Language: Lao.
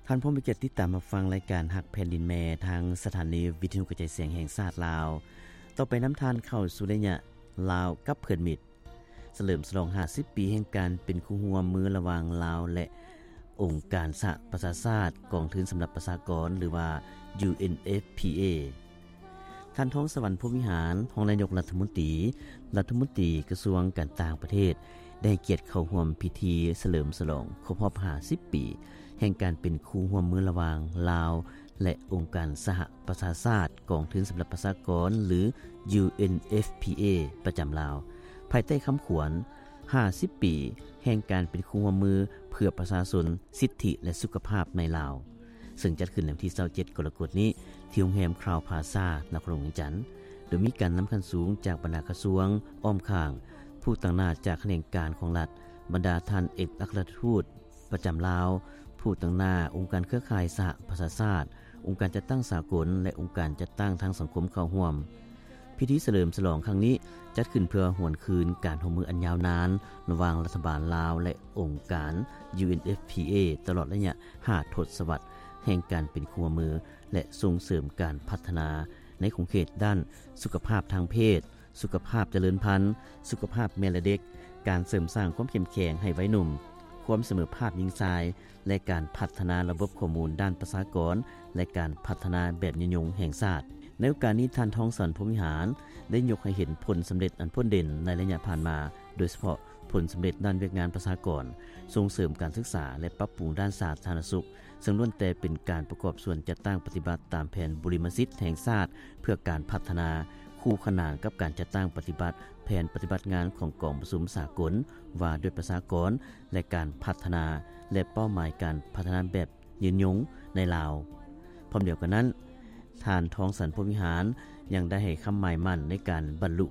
ທ່ານພ້ອມເປັນກຽດຕິດຕາມຮັບຟັງລາຍການຮັກແຜ່ນດິນແມ່ ທາງສະຖານີວິທະຍຸກະຈາຍສຽງແຫ່ງຊາດລາວ. ຕໍ່ໄປນຳທ່ານເຂົ້າສູ່ໄລຍະລາວກັບເພື່ອນມິດ ສະເຫຼີມສະຫຼອງຫ້າສິບປີແຫ່ງການເປັນຄູ່ຮ່ວມມືລະຫວ່າງລາວ ແລະ ອົງການສະຫະປະຊາຊາດ, ກອງທຶນສຳລັບປະຊາກອນ ຫຼືວ່າ UNFPA. ທ່ານ ທອງສະຫວັນ ພົມວິຫານ ຮອງນາຍົກລັດຖະມົນຕີ, ລັດຖະມົນຕີກະຊວງການຕ່າງປະເທດ ໄດ້ໃຫ້ກຽດເຂົ້າຮ່ວມພິທີສະເຫຼີມສະຫຼອງຄົບຮອບຫ້າສິບປີ ແຫ່ງການເປັນຄູ່ຮ່ວມມືລະຫວ່າງລາວ ແລະ ອົງການສະຫະປະຊາຊາດ, ກອງທຶນສຳລັບປະຊາກອນ ຫຼື UNFPA ປະຈຳລາວ ພາຍໃຕ້ຄຳຂວັນ ຫ້າສິບປີແຫ່ງການເປັນຄູ່ຮ່ວມມືເພື່ອປະຊາຊົນ, ສິດທິ ແລະ ສຸຂະພາບໃນລາວ, ເຊິ່ງຈັດຂຶ້ນໃນວັນທີຊາວເຈັດ ກໍລະກົດນີ້ ທີ່ໂຮງແຮມຄຣາວພລາຊາ ນະຄອນຫຼວງວຽງຈັນ, ໂດຍມີການນຳຂັ້ນສູງຈາກບັນດາກະຊວງ, ອ້ອມຂ້າງ, ຜູ້ຕາງໜ້າຈາກຂະແໜງການຂອງລັດ, ບັນດາທ່ານເອກອັກຄະລັດຖະທູດປະຈຳລາວ, ຜູ້ຕາງໜ້າອົງການເຄືອຂ່າຍສະຫະປະຊາຊາດ, ອົງການຈັດຕັ້ງສາກົນ ແລະ ອົງການຈັດຕັ້ງທາງສັງຄົມເຂົ້າຮ່ວມ. ພິທີສະເຫຼີມສະຫຼອງຄັ້ງນີ້ ຈັດຂຶ້ນເພື່ອຫວນຄືນການຮ່ວມມືອັນຍາວນານລະຫວ່າງລັດຖະບານລາວ ແລະ ອົງການ UNFPA ຕະຫຼອດໄລຍະຫ້າທົດສະວັດແຫ່ງການເປັນຄູ່ຮ່ວມມື ແລະ ສົ່ງເສີມການພັດທະນາໃນຂົງເຂດດ້ານສຸຂະພາບທາງເພດ, ສຸຂະພາບຈະເລີນພັນ, ສຸຂະພາບແມ່ ແລະ ເດັກ, ການເສີມສ້າງຄວາມເຂັ້ມແຂງໃຫ້ໄວໜຸ່ມ, ຄວາມສະເໝີພາບຍິງຊາຍ ແລະ ການພັດທະນາລະບົບຂໍ້ມູນດ້ານປະຊາກອນ ແລະ ການພັດທະນາແບບຍືນຍົງແຫ່ງຊາດ. ໃນໂອກາດນີ້ ທ່ານ ທອງສະຫວັນ ພົມວິຫານ ໄດ້ຍົກໃຫ້ເຫັນຜົນສຳເລັດອັນພົ້ນເດັ່ນໃນໄລຍະຜ່ານມາ, ໂດຍສະເພາະຜົນສຳເລັດດ້ານວຽກງານປະຊາກອນ, ສົ່ງເສີມການສຶກສາ ແລະ ປັບປຸງດ້ານສາທາລະນະສຸກ, ເຊິ່ງລ້ວນແຕ່ເປັນການປະກອບສ່ວນຈັດຕັ້ງປະຕິບັດຕາມແຜນບຸລິມະສິດແຫ່ງຊາດເພື່ອການພັດທະນາ, ຄູ່ຂະໜານກັບການຈັດຕັ້ງປະຕິບັດແຜນປະຕິບັດງານຂອງກອງປະຊຸມສາກົນວ່າດ້ວຍປະຊາກອນ ແລະ ການພັດທະນາ ແລະ ເປົ້າໝາຍການພັດທະນາແບບຍືນຍົງໃນລາວ. ພ້ອມດຽວກັນນັ້ນ, ທ່ານ ທອງສະຫວັນ ພົມວິຫານ ຍັງໄດ້ໃຫ້ຄຳໝາຍໝັ້ນໃນການບັນລຸ